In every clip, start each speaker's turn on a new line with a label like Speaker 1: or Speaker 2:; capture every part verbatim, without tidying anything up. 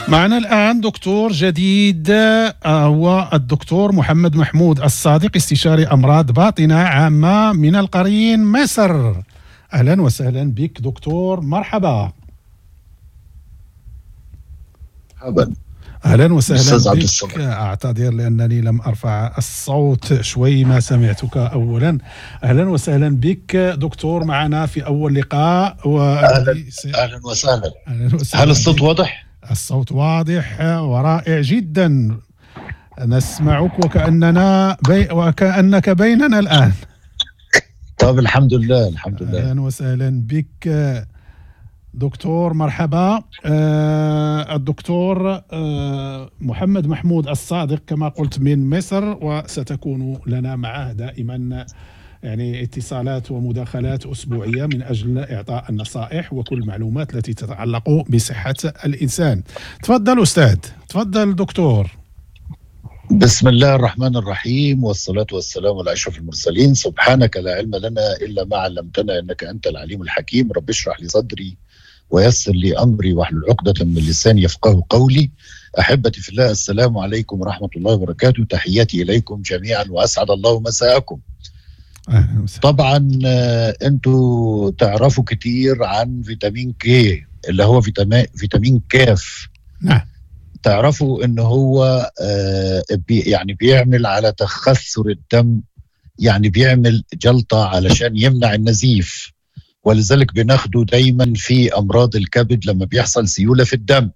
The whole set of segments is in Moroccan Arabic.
Speaker 1: معنا الآن دكتور جديد، هو الدكتور محمد محمود الصادق، استشاري أمراض باطنة عامة من القرين مصر. أهلا وسهلا بك دكتور، مرحبا.
Speaker 2: مرحبا.
Speaker 1: أهلا وسهلا بك. أعتذر لأنني لم أرفع الصوت شوي، ما سمعتك أولا. أهلا وسهلا بك دكتور معنا في أول لقاء.
Speaker 2: و... أهلا, أهلا وسهلا. أهلا وسهلا. هل الصوت واضح؟
Speaker 1: الصوت واضح ورائع جدا، نسمعك وكأننا بي... وكأنك بيننا الآن.
Speaker 2: طب الحمد لله، الحمد لله.
Speaker 1: أهلا وسهلا بك دكتور، مرحبا. آه الدكتور آه محمد محمود الصادق كما قلت من مصر، وستكون لنا معه دائما يعني اتصالات ومداخلات أسبوعية من أجل إعطاء النصائح وكل المعلومات التي تتعلق بصحة الإنسان. تفضل أستاذ، تفضل دكتور.
Speaker 2: بسم الله الرحمن الرحيم، والصلاة والسلام على أشرف المرسلين. سبحانك لا علم لنا إلا ما علمتنا إنك أنت العليم الحكيم. رب اشرح لي صدري ويسر لي أمري واحلل عقدة من لساني يفقه قولي. أحبتي في الله، السلام عليكم ورحمة الله وبركاته. تحياتي إليكم جميعا وأسعد الله مساءكم. طبعا انتوا تعرفوا كتير عن فيتامين كي اللي هو فيتامين فيتامين كاف.
Speaker 1: نعم.
Speaker 2: تعرفوا ان هو بي يعني بيعمل على تخثر الدم، يعني بيعمل جلطة علشان يمنع النزيف، ولذلك بناخده دايما في امراض الكبد لما بيحصل سيولة في الدم.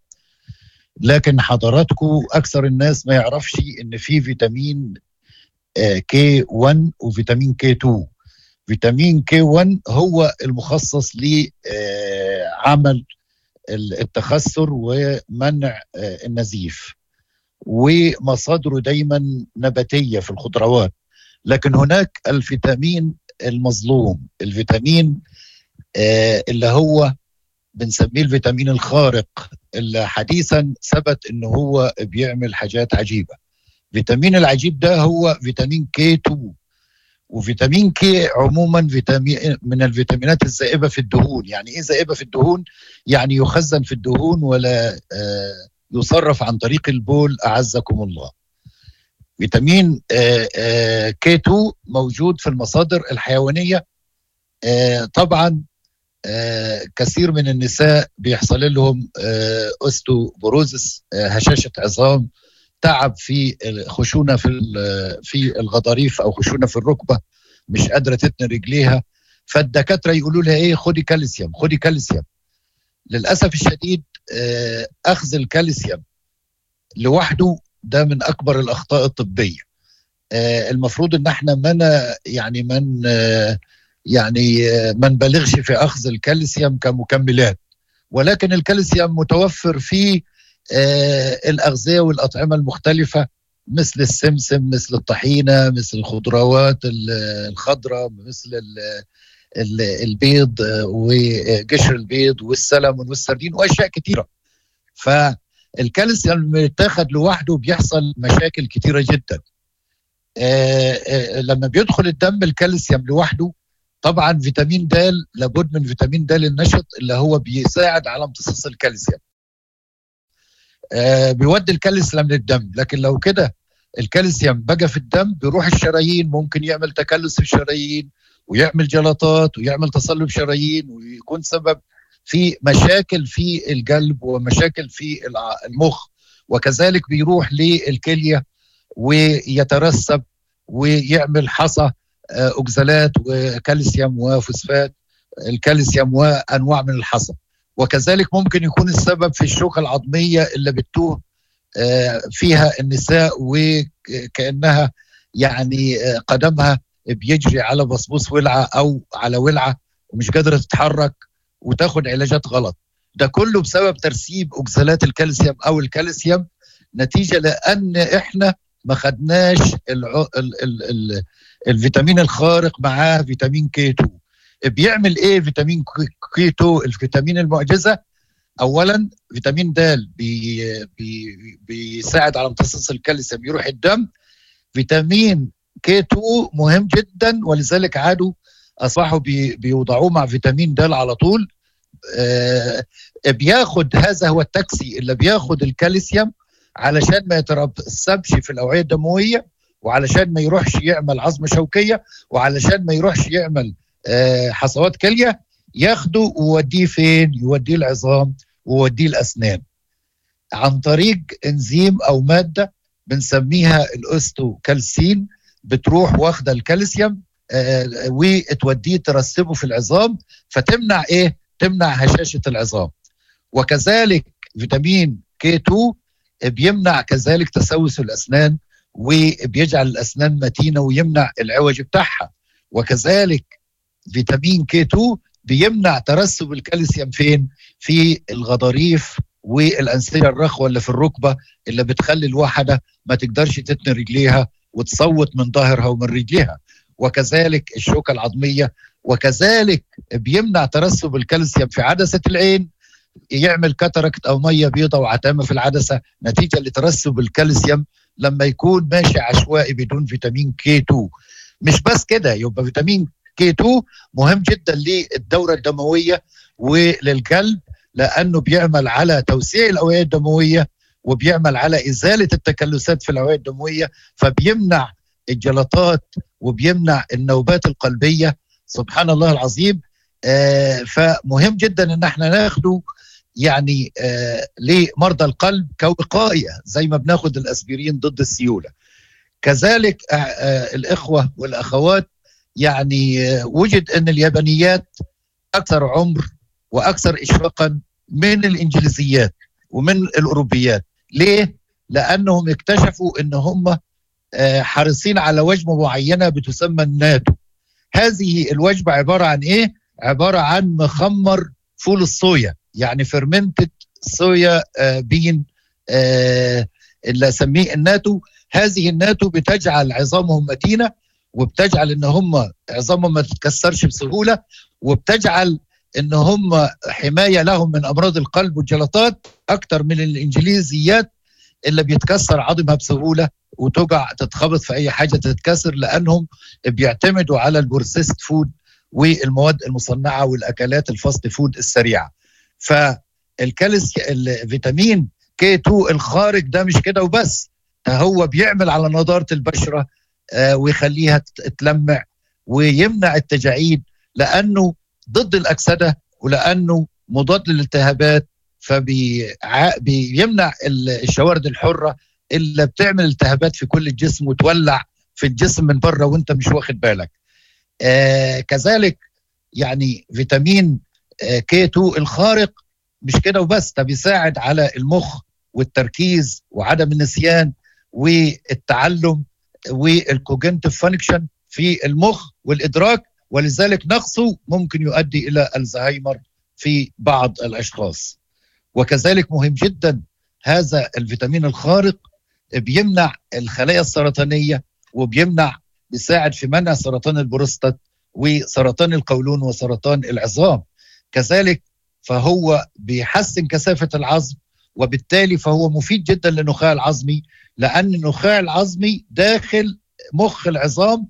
Speaker 2: لكن حضراتكم اكثر الناس ما يعرفش ان في فيتامين كي واحد وفيتامين كي اتنين. فيتامين كي واحد هو المخصص لعمل التخثر ومنع النزيف، ومصادره دايما نباتية في الخضروات. لكن هناك الفيتامين المظلوم، الفيتامين اللي هو بنسميه الفيتامين الخارق، اللي حديثا ثبت انه هو بيعمل حاجات عجيبة. فيتامين العجيب ده هو فيتامين كي اتنين. وفيتامين كي عموما فيتامين من الفيتامينات الذائبة في الدهون. يعني ايه ذائبة في الدهون؟ يعني يخزن في الدهون ولا يصرف عن طريق البول، أعزكم الله. فيتامين كي اتنين موجود في المصادر الحيوانية. طبعا كثير من النساء بيحصل لهم osteoporosis، هشاشة عظام، تعب في خشونة في في الغضاريف أو خشونة في الركبة، مش قادرة تتني رجليها. فالدكاترة يقولوا لها إيه؟ خدي كالسيوم، خدي كالسيوم. للأسف الشديد أخذ الكالسيوم لوحده ده من أكبر الأخطاء الطبية. المفروض إن احنا من يعني من يعني ما نبالغش في أخذ الكالسيوم كمكملات، ولكن الكالسيوم متوفر في آه الأغذية والأطعمة المختلفة، مثل السمسم، مثل الطحينة، مثل الخضروات الخضراء، مثل البيض وقشر البيض والسلمون والسردين وأشياء كثيرة. فالكالسيوم لما يتاخد لوحده بيحصل مشاكل كثيرة جدا. آه آه لما بيدخل الدم الكالسيوم لوحده، طبعا فيتامين د، لابد من فيتامين د النشط اللي هو بيساعد على امتصاص الكالسيوم، آه بيودي الكالسيوم للدم. لكن لو كده الكالسيوم بقى في الدم بيروح الشرايين، ممكن يعمل تكلس في الشرايين ويعمل جلطات ويعمل تصلب شرايين، ويكون سبب في مشاكل في القلب ومشاكل في المخ. وكذلك بيروح للكلية ويترسب ويعمل حصى أوكزالات وكالسيوم وفوسفات الكالسيوم وأنواع من الحصى. وكذلك ممكن يكون السبب في الشوكة العظمية اللي بتتوه فيها النساء، وكأنها يعني قدمها بيجري على بصبوص ولعة أو على ولعة ومش قادرة تتحرك وتاخد علاجات غلط. ده كله بسبب ترسيب أوكزالات الكالسيوم أو الكالسيوم، نتيجة لأن إحنا ما خدناش الع... ال... ال... ال... الفيتامين الخارق معاه فيتامين كي اتنين. بيعمل ايه فيتامين كي اتنين الفيتامين المعجزة؟ اولا فيتامين د بي... بي... بيساعد على امتصاص الكالسيوم يروح الدم. فيتامين كي اتنين مهم جدا، ولذلك عادوا اصبحوا بي... بيوضعوه مع فيتامين د على طول. آه بياخد، هذا هو التاكسي اللي بياخد الكالسيوم علشان ما يترسبش في الاوعية الدموية، وعلشان ما يروحش يعمل عظم شوكيه، وعلشان ما يروحش يعمل آه حصوات كليه. ياخده ويوديه فين؟ يوديه العظام ويوديه الاسنان عن طريق انزيم او مادة بنسميها ال osteocalcin، بتروح واخده الكالسيوم آه وتوديه ترسبه في العظام، فتمنع ايه؟ تمنع هشاشة العظام. وكذلك فيتامين K اتنين بيمنع كذلك تسوس الاسنان، وبيجعل الاسنان متينة ويمنع العوج بتاعها. وكذلك فيتامين K اتنين بيمنع ترسب الكالسيوم فين؟ في الغضاريف والانسجه الرخوه اللي في الركبة، اللي بتخلي الواحدة ما تقدرش تتني رجليها وتصوت من ظهرها ومن رجليها. وكذلك الشوكة العظميه. وكذلك بيمنع ترسب الكالسيوم في عدسة العين، يعمل cataract او مية بيضاء وعتامه في العدسة نتيجة لترسب الكالسيوم لما يكون ماشي عشوائي بدون فيتامين K اتنين. مش بس كده، يبقى فيتامين K اتنين مهم جدا للدورة الدموية وللقلب، لانه بيعمل على توسيع الاوعية الدموية وبيعمل على ازالة التكلسات في الاوعية الدموية، فبيمنع الجلطات وبيمنع النوبات القلبية. سبحان الله العظيم. آه فمهم جدا ان احنا ناخده يعني آه لمرضى القلب كوقايه، زي ما بناخد الاسبرين ضد السيولة. كذلك آه آه الاخوة والاخوات، يعني آه وجد ان اليابانيات اكثر عمر واكثر اشراقا من الانجليزيات ومن الاوروبيات. ليه؟ لانهم اكتشفوا ان هم آه حريصين على وجبة معينة بتسمى الناتو. هذه الوجبة عبارة عن ايه؟ عبارة عن مخمر فول الصويا، يعني fermented soya bean اللي اسميه الناتو. هذه الناتو بتجعل عظامهم متينة، وبتجعل ان هم عظامهم ما تتكسرش بسهولة، وبتجعل ان هم حماية لهم من امراض القلب والجلطات اكتر من الانجليزيات اللي بيتكسر عظمها بسهولة وتقع تتخبط في اي حاجة تتكسر، لانهم بيعتمدوا على ال processed food والمواد المصنعة والاكلات ال fast food السريعة. فالكالسيوم الفيتامين K اتنين الخارق ده مش كده وبس، ده هو بيعمل على نضاره البشرة آه ويخليها تلمع ويمنع التجاعيد، لانه ضد الاكسدة ولانه مضاد للالتهابات، فبيمنع الشوارد الحرة اللي بتعمل التهابات في كل الجسم وتولع في الجسم من بره وانت مش واخد بالك. آه كذلك يعني فيتامين آه K اتنين الخارق مش كده وبس، ده بيساعد على المخ والتركيز وعدم النسيان والتعلم وال cognitive function في المخ والإدراك، ولذلك نقصه ممكن يؤدي إلى الزهايمر في بعض الأشخاص. وكذلك مهم جدا هذا الفيتامين الخارق بيمنع الخلايا السرطانية، وبيمنع بيساعد في منع سرطان البروستات وسرطان القولون وسرطان العظام. كذلك فهو بيحسن كثافة العظم، وبالتالي فهو مفيد جدا للنخاع العظمي، لأن النخاع العظمي داخل مخ العظام،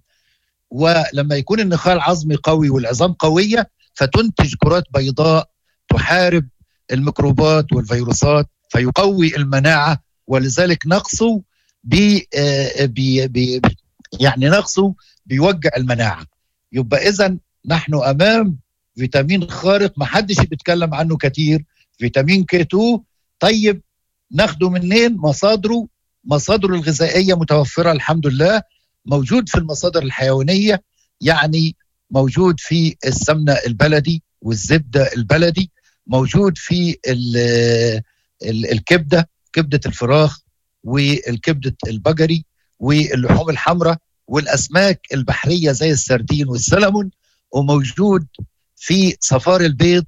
Speaker 2: ولما يكون النخاع العظمي قوي والعظام قوية فتنتج كرات بيضاء تحارب الميكروبات والفيروسات، فيقوي المناعة. ولذلك نقصه بي بي بي يعني نقصه بيوجع المناعة. يبقى إذن نحن أمام فيتامين خارق ما حدش بيتكلم عنه كتير، فيتامين K اتنين. طيب ناخده منين؟ مصادره مصادره الغذائية متوفرة الحمد لله، موجود في المصادر الحيوانية، يعني موجود في السمنة البلدي والزبدة البلدي، موجود في ال ال الكبدة، كبدة الفراخ والكبدة البقري واللحوم الحمراء والأسماك البحرية زي السردين والسلمون، وموجود في صفار البيض.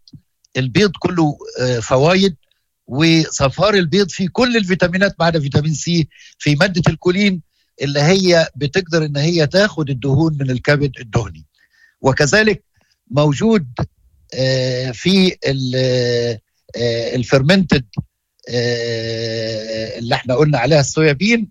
Speaker 2: البيض كله فوايد، وصفار البيض فيه كل الفيتامينات ما عدا فيتامين سي، في مادة الكولين اللي هي بتقدر ان هي تاخد الدهون من الكبد الدهني. وكذلك موجود في ال fermented اللي احنا قلنا عليها ال soya bean،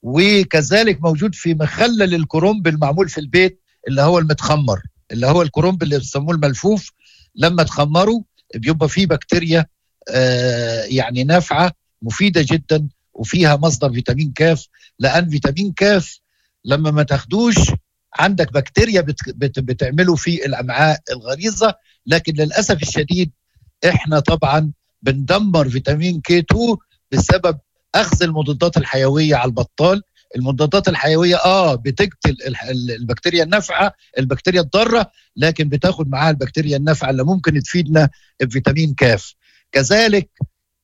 Speaker 2: وكذلك موجود في مخلل الكرنب المعمول في البيت اللي هو المتخمر، اللي هو الكرنب اللي بيسموه الملفوف، لما تخمره بيبقى فيه بكتيريا آه يعني نافعة مفيدة جدا وفيها مصدر فيتامين كاف. لان فيتامين كاف لما ما تاخدوش عندك بكتيريا بت بت بتعمله في الامعاء الغليظة، لكن للاسف الشديد احنا طبعا بندمر فيتامين K اتنين بسبب اخذ المضادات الحيوية على البطال. المضادات الحيوية اه بتقتل البكتيريا النافعة، البكتيريا الضارة، لكن بتاخد معاها البكتيريا النافعة اللي ممكن تفيدنا بفيتامين كاف. كذلك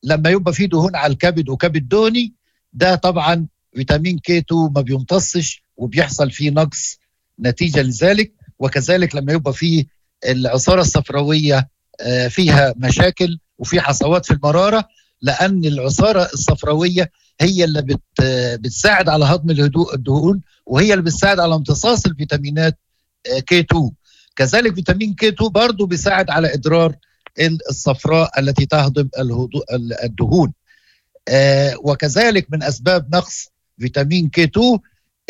Speaker 2: لما يبقى في دهون على الكبد وكبد دهني، ده طبعا فيتامين K اتنين ما بيمتصش وبيحصل فيه نقص نتيجة لذلك. وكذلك لما يبقى فيه العصاره الصفراويه فيها مشاكل وفي حصوات في المرارة، لان العصاره الصفراويه هي اللي بت بتساعد على هضم الدهون، وهي اللي بتساعد على امتصاص الفيتامينات K اتنين. كذلك فيتامين K اتنين برضو بيساعد على ادرار الصفراء التي تهضم الدهون. وكذلك من اسباب نقص فيتامين K اتنين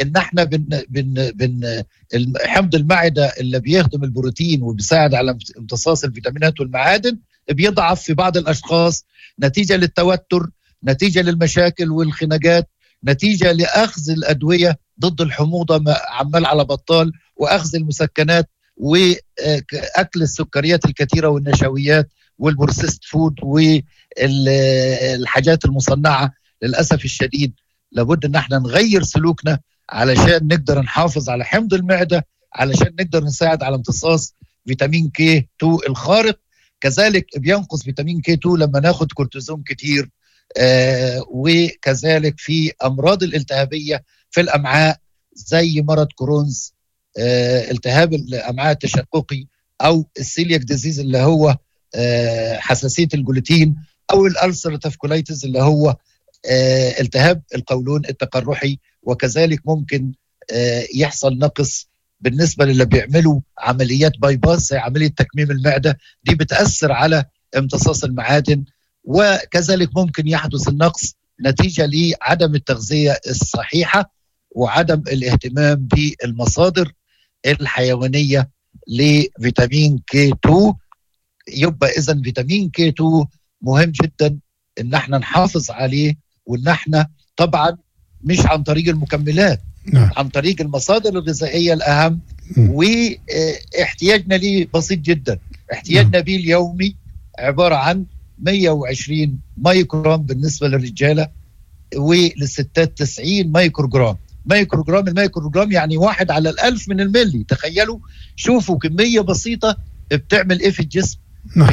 Speaker 2: ان احنا بن بن بن حمض المعدة اللي بيهضم البروتين وبيساعد على امتصاص الفيتامينات والمعادن بيضعف في بعض الاشخاص نتيجة للتوتر، نتيجة للمشاكل والخناقات، نتيجة لاخذ الادوية ضد الحموضة عمال على بطال، واخذ المسكنات، واكل السكريات الكثيرة والنشويات وال processed food والحاجات المصنعة. للاسف الشديد لابد ان احنا نغير سلوكنا علشان نقدر نحافظ على حمض المعدة، علشان نقدر نساعد على امتصاص فيتامين K اتنين الخارق. كذلك بينقص فيتامين K اتنين لما ناخد كورتيزون كتير، آه وكذلك في امراض الالتهابيه في الامعاء زي مرض Crohn's، آه التهاب الامعاء التشققي، او ال celiac disease اللي هو آه حساسية الجلوتين، او ال ulcerative colitis اللي هو آه التهاب القولون التقرحي. وكذلك ممكن آه يحصل نقص بالنسبة للي بيعملوا عمليات bypass زي عملية تكميم المعدة، دي بتاثر على امتصاص المعادن. وكذلك ممكن يحدث النقص نتيجة لعدم التغذية الصحيحة وعدم الاهتمام بالمصادر الحيوانية لفيتامين K اتنين. يبقى اذا فيتامين K اتنين مهم جدا ان احنا نحافظ عليه، وان احنا طبعا مش عن طريق المكملات، نعم. عن طريق المصادر الغذائية الاهم. واحتياجنا ليه بسيط جدا، احتياجنا بيه اليومي عبارة عن مية وعشرين مايكروجرام بالنسبة للرجاله، وللستات تسعين مايكروجرام. مايكروجرام، المايكروجرام يعني واحد على الألف من الملي. تخيلوا، شوفوا كمية بسيطة بتعمل ايه في الجسم. نعم.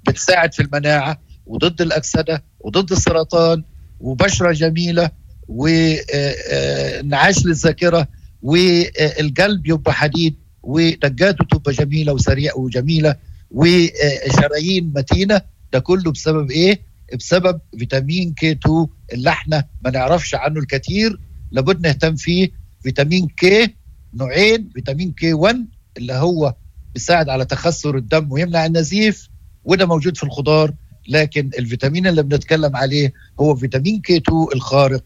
Speaker 2: بتساعد في المناعة وضد الاكسدة وضد السرطان، وبشره جميلة، وانعاش للذاكرة، والقلب يبقى حديد، ودقاته تبقى جميلة وسريعة وجميلة، وشرايين متينة. ده كله بسبب ايه؟ بسبب فيتامين K اتنين اللي احنا ما نعرفش عنه الكثير، لابد نهتم فيه. فيتامين K نوعين، فيتامين K واحد اللي هو بيساعد على تخثر الدم ويمنع النزيف، وده موجود في الخضار، لكن الفيتامين اللي بنتكلم عليه هو فيتامين K اتنين الخارق.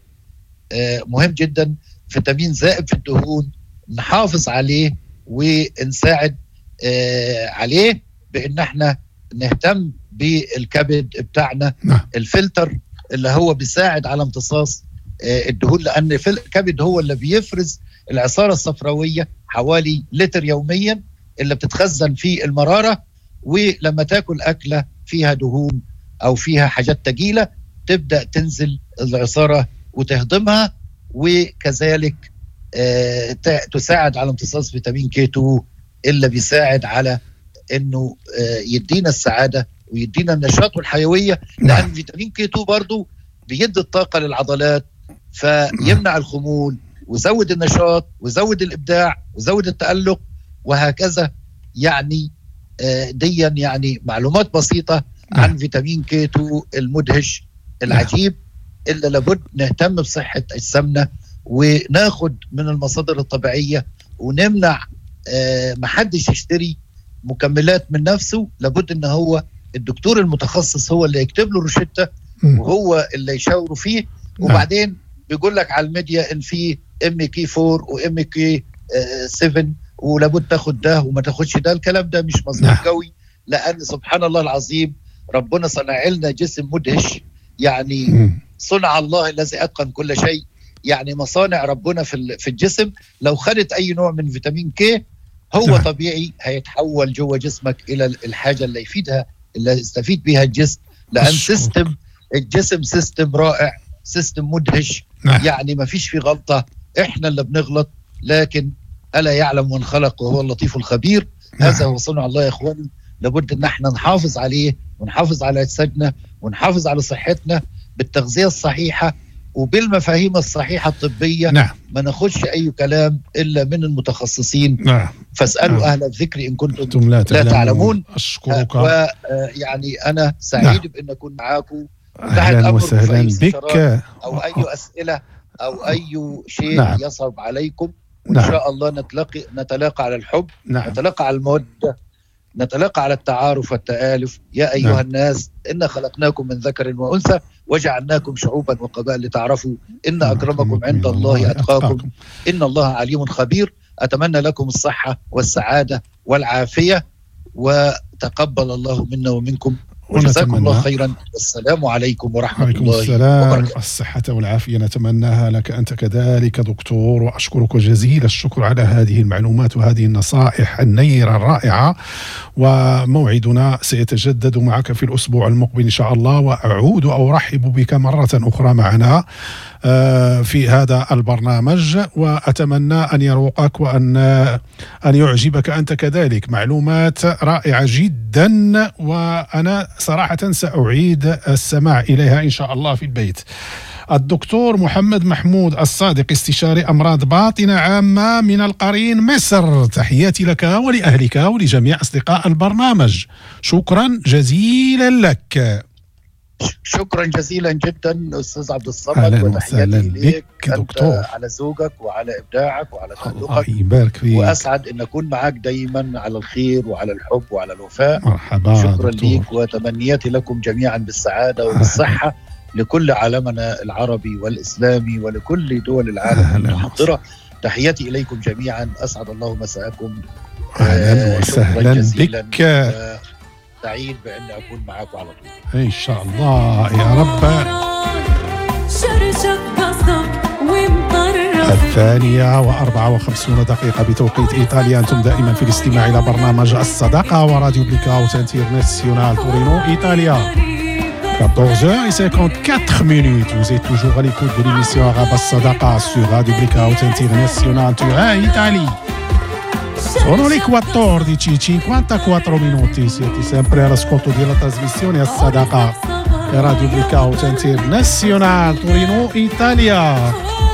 Speaker 2: آه مهم جدا، فيتامين زائد في الدهون، نحافظ عليه ونساعد آه عليه بان احنا نهتم بالكبد بتاعنا. نعم. الفلتر اللي هو بيساعد على امتصاص آه الدهون، لان الكبد هو اللي بيفرز العصاره الصفراويه حوالي لتر يوميا اللي بتتخزن في المرارة. ولما تاكل اكله فيها دهون او فيها حاجات تقيلة تبدا تنزل العصاره وتهضمها، وكذلك آه تساعد على امتصاص فيتامين K اتنين اللي بيساعد على انه آه يدينا السعادة ويدينا النشاط والحيوية. لان فيتامين K اتنين برضو بيدي الطاقة للعضلات، فيمنع الخمول ويزود النشاط ويزود الابداع ويزود التالق وهكذا. يعني آه ديا يعني معلومات بسيطة عن فيتامين K اتنين المدهش العجيب اللي لابد نهتم بصحة اجسامنا وناخد من المصادر الطبيعية ونمنع آه محدش يشتري مكملات من نفسه. لابد ان هو الدكتور المتخصص هو اللي يكتب له روشتة وهو اللي يشاوره فيه. وبعدين بيقول لك على الميديا ان في MK أربعة و MK سبعة ولابد تاخد ده وما تاخدش ده. الكلام ده مش مظبوط قوي. لان سبحان الله العظيم ربنا صنع لنا جسم مدهش، يعني صنع الله الذي اتقن كل شيء. يعني مصانع ربنا في في الجسم لو خدت اي نوع من فيتامين كي هو نعم. طبيعي هيتحول جوه جسمك الى الحاجة اللي يفيدها، اللي يستفيد بها الجسم، لان system الجسم system رائع، system مدهش. نعم. يعني ما فيش فيه غلطه، احنا اللي بنغلط، لكن الا يعلم من خلق وهو اللطيف الخبير. نعم. هذا هو صنع الله يا اخواني، لابد ان احنا نحافظ عليه ونحافظ على اجسادنا ونحافظ على صحتنا بالتغذية الصحيحة وبالمفاهيم الصحيحة الطبية. نعم. ما ناخدش اي كلام الا من المتخصصين. نعم. فاسالوا نعم. اهل الذكر ان كنتم لا تعلمون. لا تعلمون.
Speaker 1: اشكرك،
Speaker 2: ويعني انا سعيد نعم. بان اكون معاكم.
Speaker 1: اهلا وسهلا بك،
Speaker 2: او اي اسئلة او اي شيء نعم. يصعب عليكم، وان نعم. شاء الله نتلاقي نتلاقى على الحب، نعم. نتلاقى على المودة، نتلاقى على التعارف والتآلف. يا أيها نعم. الناس إنا خلقناكم من ذكر وأنثى وجعلناكم شعوبا وقبائل لتعرفوا إن أكرمكم عند الله أتقاكم إن الله عليم خبير. أتمنى لكم الصحة والسعادة والعافية، وتقبل الله منا ومنكم، وجزاكم الله خيرا، والسلام عليكم ورحمة
Speaker 1: عليكم
Speaker 2: الله
Speaker 1: السلام.
Speaker 2: وبركاته.
Speaker 1: الصحة والعافية نتمناها لك أنت كذلك دكتور، وأشكرك جزيل الشكر على هذه المعلومات وهذه النصائح النيرة الرائعة. وموعدنا سيتجدد معك في الأسبوع المقبل إن شاء الله، وأعود وأرحب بك مرة أخرى معنا في هذا البرنامج، وأتمنى أن يروقك وأن أن يعجبك أنت كذلك. معلومات رائعة جدا، وأنا صراحة سأعيد السماع إليها إن شاء الله في البيت. الدكتور محمد محمود الصادق، استشاري أمراض باطنة عامة من القرين مصر، تحياتي لك ولأهلك ولجميع أصدقاء البرنامج، شكرا جزيلا لك.
Speaker 2: شكرا جزيلا جدا أستاذ عبد الصمد، وتحياتي إليك
Speaker 1: دكتور،
Speaker 2: على زوجك وعلى إبداعك وعلى تألقك،
Speaker 1: يبارك فيك،
Speaker 2: وأسعد أن أكون معك دايما على الخير وعلى الحب وعلى الوفاء.
Speaker 1: مرحبا،
Speaker 2: شكرا لك، وتمنياتي لكم جميعا بالسعادة وبالصحة لكل عالمنا العربي والإسلامي ولكل دول العالم المتحضرة. تحياتي إليكم جميعا، أسعد الله مساءكم.
Speaker 1: أهلا وسهلا بك،
Speaker 2: سعيد بأن أكون معاكم على طول
Speaker 1: إن شاء الله يا رب. الثانية وأربعة وخمسون دقيقة بتوقيت إيطاليا. أنتم دائما في الاستماع إلى برنامج الصداقة وراديو بليكاوت انترناسيونال تورينو إيطاليا. quatorze heures cinquante-quatre minutes. Vous êtes toujours à l'écoute de l'émission Arabe As-Sadaqa sur Radio Blackout International Turin, Italie. Sono le quattordici e cinquantaquattro minuti, siete sempre all'ascolto della trasmissione As-Sadaqa Radio Blackout International Torino, Italia.